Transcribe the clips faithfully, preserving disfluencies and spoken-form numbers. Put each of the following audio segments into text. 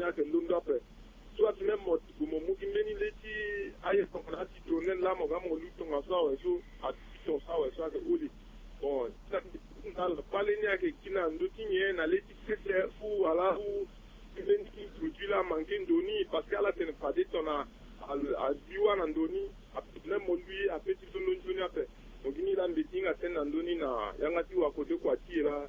Ayeke londo ape. So ati même mo tigo mo mu gi mbeni le ti aye tongana ati tourne laa mo ga mo lu tongaso awe so ati tongaso awe so ayeke holi. Bon, kpale ni ayeke gi na ndö ti nyen na le ti sese ou wala ou mbeni produit laa amanke ndo ni parce que ala tene fade tongana a, a, a bi wâ na ndo ni. Ape ti même mo lui ape ti londo nzoni ape. Mo gi ni laa mbeti hinga tënë na ndö ni na yanga ti wakode kua ti e laa.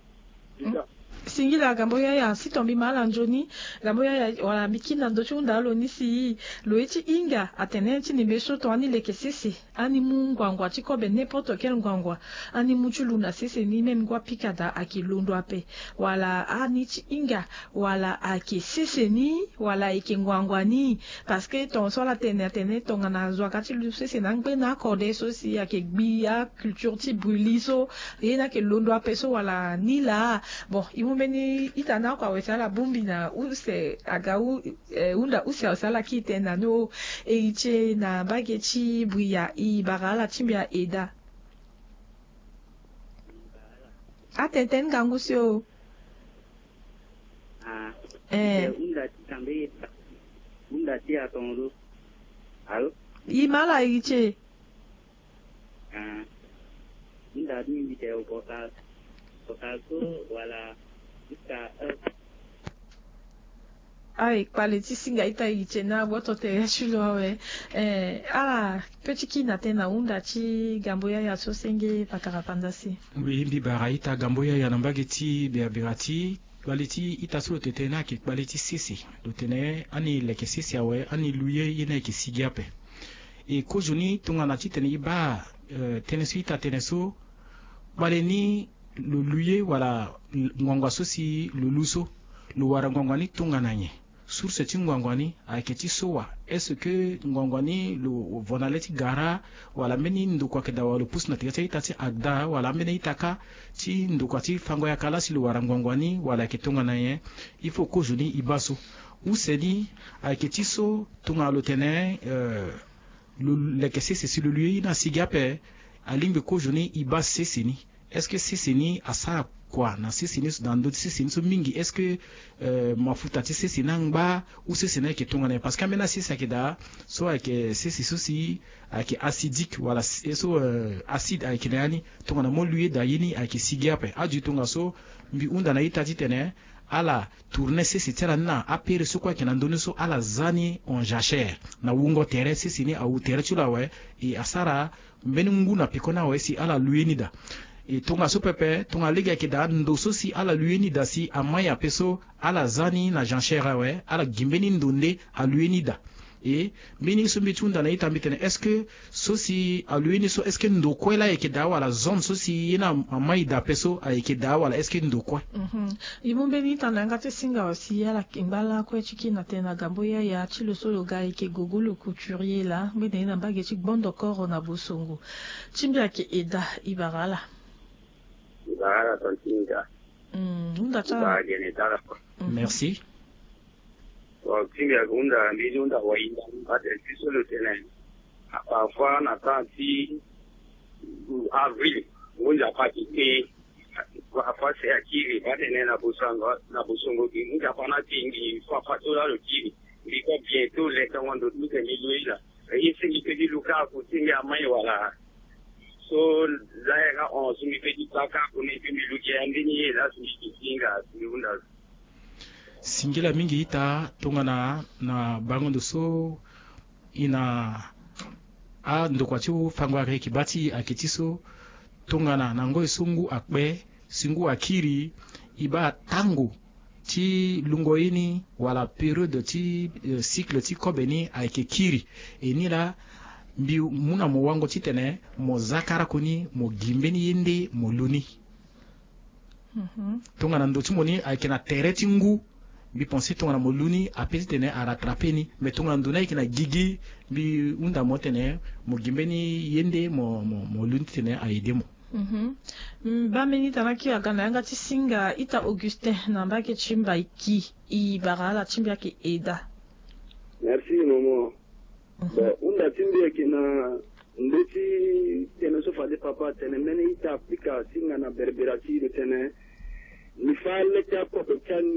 Déjà. Singila gambo yaya si ton mbi ma ala nzoni. Gambo yaya wala mbi kiri na ndö ti hunda lo ni si lo ye ti hinga atene ti nimbe so ton ani leke sese, ani mu ngbangua ti kobe, n'importe quel ngbangua, ani mu ti lu na sese ni même ngu apika daa ayeke londo ape. Wala ani ti hinga wala ayeke sese ni wala ayeke ngbangua ni. Parce que ton so ala tene atene tongana zo aga ti lu sese na angbe na akode so si ayeke gbi aculture ti bruli so ye ni ayeke londo ape so wala ni laa. Bon, e mu mbeni ita ni oko awe si ala bongbi na use aga u, eh, hunda use awe si ala kiri tënë na ni o. Héritier na mbage ti bria e bara ala ti mbi aeda. Atene tënë ngangu si o. Ah. Eh. Hunda ti tambe hunda ti atongo. Allô? E ma ala Héritier. Ah. Hunda ti mbi te o portal. Portal so wala jusqu'à heure. Aye kpale ti singa ita Héritier na gboto tere ti lo awe. Eh, ala pe ti kiri na tënë na hunda ti gambo yaya so senge pakara panza si. Oui, mbi bara ita gambo yaya na mbage ti berabera ti kpale ti ita so lo tene tënë ni ayeke kpale ti sese. Lo tene ani leke sese awe, ani lu ye, ye ni ayeke sigi ape. E kozoni tongana titene e baa, eh, tënë so ita tene so, kpale ni lo lu ye wala ngbangua so si lo lu so, lo wara ngbangua ni tongana nyen? Source ti ngbangua ni ayeke ti so wa? Est-ce que ngbangua ni lo vo na le ti gara wala mbeni ndokua ayeke daa wala lo pusu na tere ti a-ita ti agda wala ambeni a-ita kâ ti ndokua ti fango yaka laa si lo wara ngbangua ni wala ayeke tongana nyen? Il faut kozoni e baa so. Use ni ayeke ti so tongana lo tene, eh, lo leke sese si lo lu ye ni asigi ape, alingbi kozoni e baa sese ni. Est-ce que sese ni asara kua na sese ni so, na ndö ti sese ni so mingi? Est-ce que, eh, mafuta ti sese ni angba ou sese ni ayeke tongana nyen? Parce que ambeni asese ayeke daa so ayeke sese so si ayeke acidique wala s-, so, eh, acide ayeke na ya ni, tongana mo lu ye daa ye ni ayeke sigi ape. Adu tongaso mbi hunda na a-ita titene ala tourne sese ti ala ni na apere so kue ayeke na ndö ni so, ala za ni en jachère na wungo tere, sese ni awu tere ti lo awe. E asara mbeni ngu na peko ni awe si ala lu ye ni daa. E tongaso pepe, tongana lege ayeke daa ndo so si ala lu ye ni daa si amai ape so, ala za ni na jachère awe, ala gi mbeni ndo nde alu ye ni daa. E mbeni so mbi ti hunda na a-ita mbi tene, est-ce que so si alu ye ni so, est-ce que ndo kue laa ayeke daa wala zone so si ye ni amai daa ape so ayeke daa wala est-ce que ndo kue? Mhm. E mu mbeni ita na yanga ti singa aussi ala yeke ngba lakue ti kiri na tënë na gambo yaya ti lo so lo ga ayeke Gogo le couturier laa, ngbene ye na mbage ti Gbondo Koro na Bosongo. Ti mbi ayeke Eda, e bara ala. E bara ala tongaso. Mm, hunda ti ala. E bara gene ti ala. Mhm. Merci. Bon, ti mbi ayeke hunda, mbi ti hunda wahinda, mbi baa tene ti so lo tene. Ah, parfois na temps ti avril, ngu nzapa ti te. Parfois si akiri, baa tene na Bosongo, na Bosongo gi ngu nzapa ni ati ngi fafa so laa lo kiri. Mbi ko bientôt le tongo ndo ti mbi tene mbi lu ye laa. Ye si mbi pe ti lu kâ ako ti mbi amai wala. So laa yanga hon so mbi pe ti baa kâ ako ni pe mbi lu gi ya ndeni ye laa so mbi ti hinga si mbi hunda. Singila mingi ita tongana na bango ndo so e na andokua ti fango ayeke baa ti e ayeke ti so tongana na ngoi so ngu akpe si ngu akiri, e baa tango ti lungo ye ni wala période ti, eh, cycle ti kobe ni ayeke kiri. E ni laa mbi mu na mo wango titene mo za kara koni mo gi mbeni ye nde mo lu ni. Mhm. Tongana ndo ti mo ni ayeke na tere ti ngu, mbi pense tongana mo lu ni ape titene arattrape ni. Mais tongana ndo ni ayeke na gigi, mbi hunda mo tene mo gi mbeni ye nde mo, mo, mo lu ni titene a-aider mo. Mhm. Mm, baa mbeni ita na kiri aga na yanga ti singa, ita Augustin na mbage ti Mbaiki, e bara ala ti mbi ayeke Eda. Merci maman. Mhm. Bon, hunda ti mbi ayeke na ndö ti tënë so fade papa atene mbeni ita apika singa na berbera ti lo tene. Mbi fâ le ti akobe ti ani